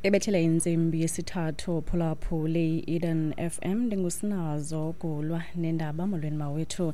Ebethele intsimbi yesithathu, phulaphule i-Eden FM. Ndingusinazo Gulwa nendaba. Molweni mawethu.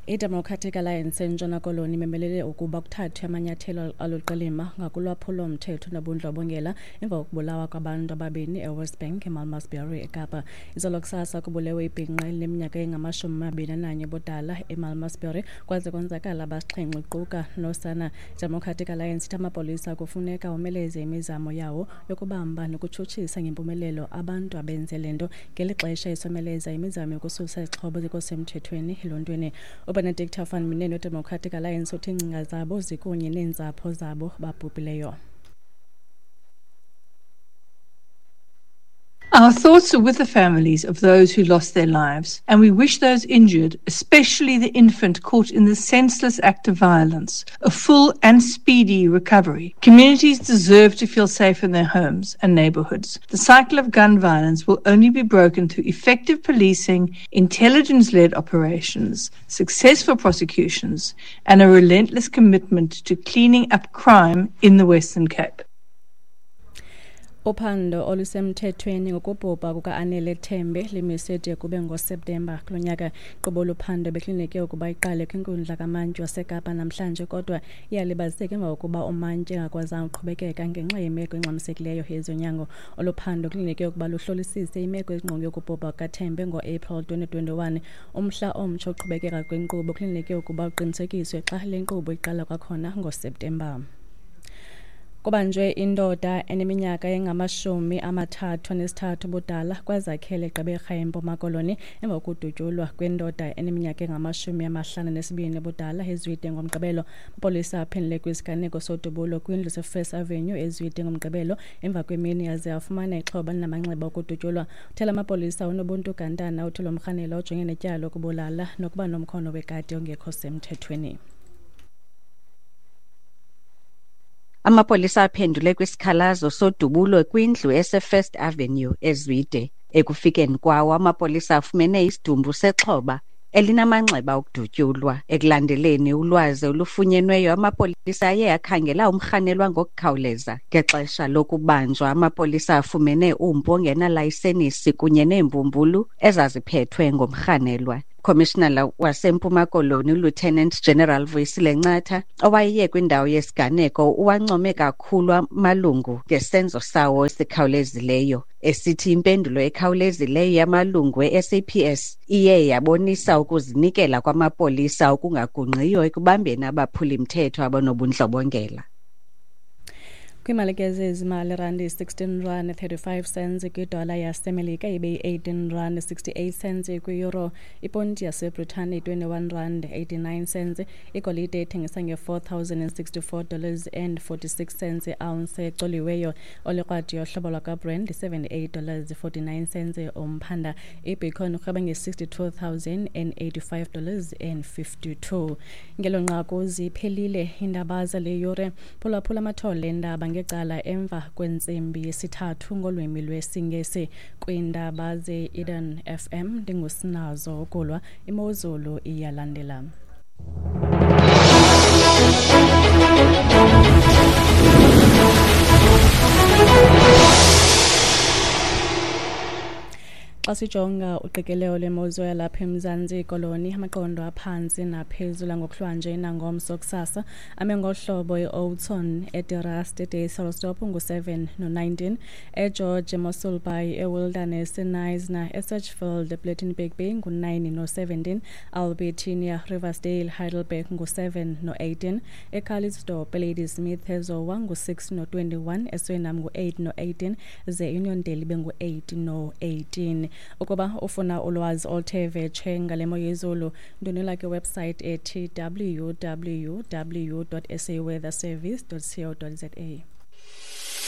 I-Democratic Alliance eNtshona Koloni imemelele ukuba kuthathwe amanyathelo aluqilima ngakulwaphulo-mthetho nobundlobongela emva kokubulawa kwabantu ababini eWest Bank eMalmesbury eKapa. Izolo kusasa kubulewe ibhinqa elineminyaka engama-21 ubudala eMalmesbury, kwaze konzakala abasixhenxe kuquka nosana. Democratic Alliance ithi amapolisa kufuneka omeleze imizamo yawo yokubamba nokutshutshisa ngempumelelo abantu abenze le nto, ngeli xesha isomeleza imizamo yokususa izixhobo zikosemthethweni eluntwini. UBenedicta van Minen weDemocratic Alliance uthi iingcinga zabo zikunye neentsapho zabo babhubhileyo. Our thoughts are with the families of those who lost their lives, and we wish those injured, especially the infant caught in the senseless act of violence, a full and speedy recovery. Communities deserve to feel safe in their homes and neighborhoods. The cycle of gun violence will only be broken through effective policing, intelligence-led operations, successful prosecutions, and a relentless commitment to cleaning up crime in the Western Cape. Uphando olusemthethweni ngokubhubha kuka-Anele Tembe limiswe de kube ngoSeptemba kulo nyaka. Inkqubo lophando bekulindeleke ukuba iqale kwinkundla kamantyi waseKapa namhlanje, kodwa iyalibaziseka emva kokuba umantyi engakwazanga ukuqhubekeka ngenxa yemeko engxamisekileyo yezonyango. Olu phando kulindeleke ukuba luhlolisise imeko ezingqonge yokubhubha kukaTembe ngoApril 2021. Umhla omtsha oqhubekeka kwenkqubo kulindeleke ukuba uqinisekiswe xa le nkqubo iqala kwakhona ngoSeptemba. Kubanjwe indoda eneminyaka engama-33 ubudala Kwazakhele eGqeberha eMpuma Koloni emva kokudutyulwa kwendoda eneminyaka engama-52 ubudala eZwide ngoMgqibelo. Amapolisa aphendule kwisiganeko sodubulo kwindlu seFirst Avenue eZwide ngoMgqibelo emva kwemini aze afumana ixhoba linamanxeba okudutyulwa. Uthela amapolisa uNobuntu Gantana uthi lo mrhanelwa ujongene netyala lokubulala nokuba nomkhono wekati ongekho semthethweni. Amapolisa aphendule kwisikhalazo sodubulo kwindlu eseFirst Avenue eZwide. Ekufikeni kwawo, amapolisa afumene isidumbu sexhoba elinamanxeba okudutyulwa. Ekulandeleni ulwazi olufunyenweyo, amapolisa aye akhangela umrhanelwa ngokukhawuleza. Ngexesha lokubanjwa, amapolisa afumene umpu ongenalayisenisi kunye neembumbulu ezaziphethwe ngumrhanelwa. Commissioner waseMpuma Koloni uLieutenant General Vuyisile Ncatha, owayeye kwindawo yesiganeko, uwancome kakhulu amalungu ngesenzo sawo esikhawulezileyo, esithi impendulo ekhawulezileyo yamalungu e-SAPS iye yabonisa ukuzinikela kwamapolisa okungagungqiyo ekubambeni abaphuli-mthetho abanobundlobongela. Kwiimali ke zezimali, irandi 16 rand 35 cents kwidola yaseMelika, ibe yi-18 rand 68 cents kwi-euro. Iponti yaseBritane 21 rand 89 cents. Igolide ithengisa nge-$4,064 and 46 cents i-ounce ecoliweyo. Olikrwadi yohlobo lwakwaBrent $78 49 cents umphanda. Ibitcoin urhweba nge-$62,085 and 52. Ngelo nqaku ziphelile iindaba zale yure. Phulaphula amathole endaba ngecala emva kwentsimbi yesithathu ngolwimi lwesiNgesi kwiindaba ze-Eden FM. Ndingusinazo Ukulwa. Imozulu iyalandela. Xa sijonga uqikelelo lwemozulu yalapha eMzantsi Koloni, amaqondo aphantsi naphezulu angokuhlwanje nangomso kusasa ame ngohlobo: e-Oudtshoorn, eDe Rust, eDysselsdorp ngu-7 no-19, eGeorge, eMossel Bay, eWilderness, eKnysna, eSedgefield, ePlettenberg Bay ngu-9 no-17, Albertinia, Riversdale, Heidelberg ngu-7 no-18, eCalitzdorp, eLadysmith, eZowa ngu-6 no-21, eSurinam ngu-8 no-18, ze Uniondale ibe ngu-8 no-18. Ukuba ufuna ulwazi oluthe vetshe ngale mo yezulu, ndwendwela kwiwebsite ethi www.saweatherservice.co.za.